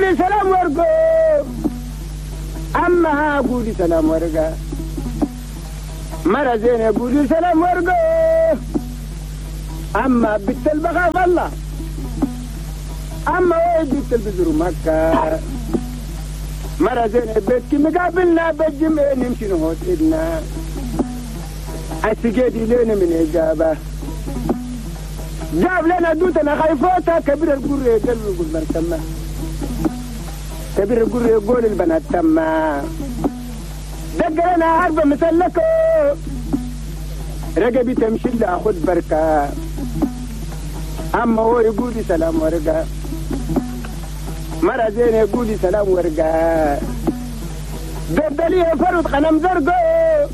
قولي سلام ورقو أما قولي سلام ورقة مرة زينة قولي سلام ورقو أما بنت البغاف الله أما وين بنت البزر مكة مرة زينة بيتك مقابلنا بالجمع نمشي نهوت إدنا السجادي لنا من إجابة جاب لنا دوتنا خايفوتها كبير القرية قال يقول مرتمة كبير القرية يقول البنات تما دق لنا عربة مسلكة رقبي تمشي لها خد بركة أما هو يقول سلام ورقة مرة زين يقول سلام ورقة بدليه فرد قلم زرقو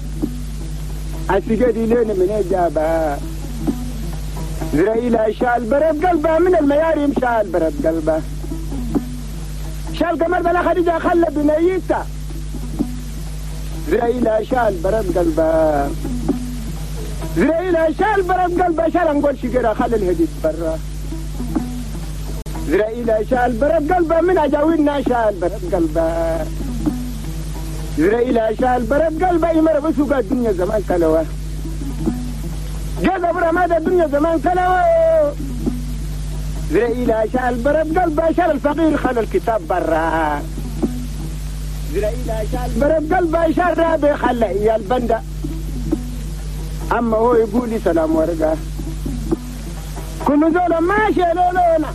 السجادي لين من إجابة زرائيل شال برد قلبه من المياريم شال برد قلبه شال قمر بلا خديجة خلى بنيته زرائيل شال برد قلبه زرائيل شال برد قلبه شال نقول شجرة خلى الهديد برا زرائيل شال برد قلبه من أجاوينا شال برد قلبه زرائيل شال برد قلبه يمر بسوق الدنيا زمان كلوه جذب رماد الدنيا زمان كلوه زرائيل شال برد قلبه شال الفقير خلى الكتاب برا زرائيل شال برد قلبه شال رابي خلى إيا البندة أما هو يقول لي سلام ورقة كل زولا ماشي لولونا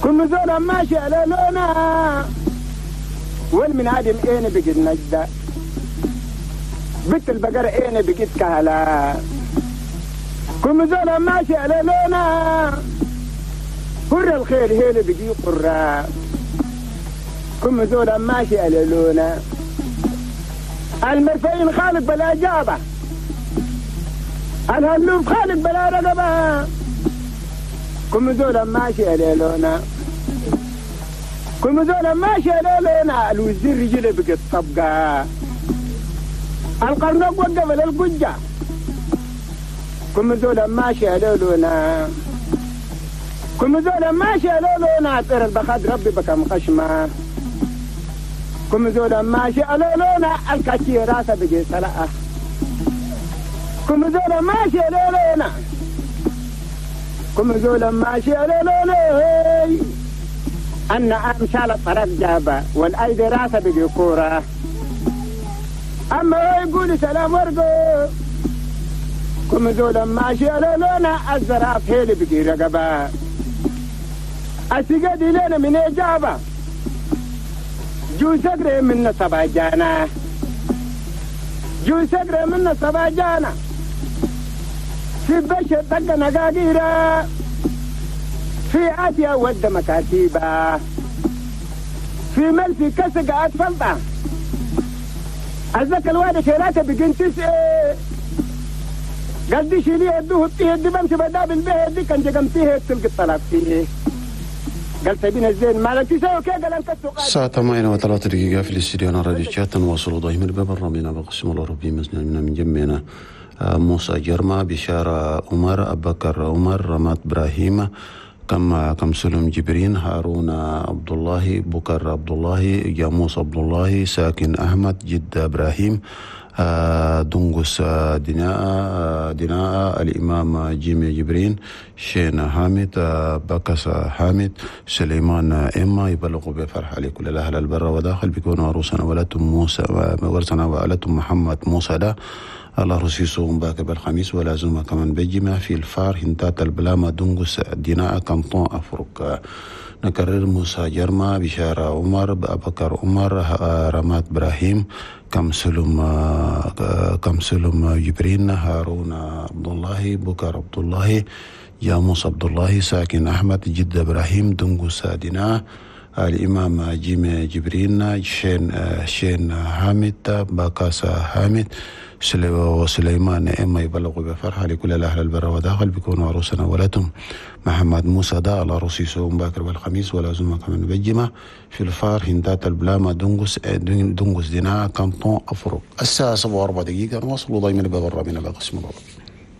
كل زولا ماشي لولونا والمن عادم اين بقيت نجدة بنت البقرة اين بقيت كهلا كل زولا ماشي لولونا قر الخير هيل بقي قرة كل زولا ماشي لولونا المرفعين خالق بلا جابة الهلوف خالق بلا رقبة كم زولا ماشي ليلونا كم زولا ماشي ليلونا الوزير رجله بقت طبقة القرنق وقف للقجة كم زولا ماشي ليلونا كم زولا ماشي ليلونا طير البخاد ربي بكم خشمة كم زولا ماشي ليلونا الكاتي راسه بقي سلقة كم زولا ماشي ليلونا كم زولا ماشي ليلونا أن أمشال الطرف جابة والأيدي راسه بقي كورة أما هو يقول سلام ورقو كم زولا ماشي ليلونا الزراف هيلي بقي رقبة السجادي لنا من إجابة جو سقري من سبع جانا جو سقري من سبع جانا في بشر دق نقاقيرة في آسيا ود مكاتيبة في ملفي كسق أطفلطة أزك الوالد شيلاته بقين تسعة قال دي شيليه يدوه بتيه دي بمشي بداب البيه دي كان جقمتيه تلقي الطلاق فيه قال سبين الزين مالك تسوي كي قال انت الساعة 8:03 دقيقة في الاستديو راديو تشات نواصل ضيم الباب الرامينا بقسم الأوروبي من جنبنا موسى جرما بشارة عمر أبكر عمر رمات إبراهيم كم سلم جبرين هارون عبد الله بكر عبد الله جاموس عبد الله ساكن أحمد جد إبراهيم دنقس دناء الإمام جيمي جبرين شين حامد بكس حامد سليمان إما يبلغ بفرح لكل الأهل البر وداخل بيكون عروسنا ولدتم موسى ورسنا وألتم محمد موسى ده الله رسيسهم باك بالخميس ولازم كمان بجمع في الفار هنتات البلاما دنقس ديناء كانطون أفرق نكرر موسى جرما بشارة عمر أبكر عمر رمات إبراهيم كم سلم جبرين هارون عبد الله بكر عبد الله جاموس عبد الله ساكن أحمد جد إبراهيم دنقس ديناء الإمام جيمي جبرين شين حامد باكاسا حامد وسليمان إما يبلغ بفرحة لكل الأهل البر وداخل بيكون عروسنا ولدهم محمد موسى دا على رصيصهم باكر والخميس ولازم كمان بجمة في الفار هندات البلاما دنقس دينا كانطون أفرق. الساعة 7:04 نواصل ضيمنا باب الرابين بقسم الغربي.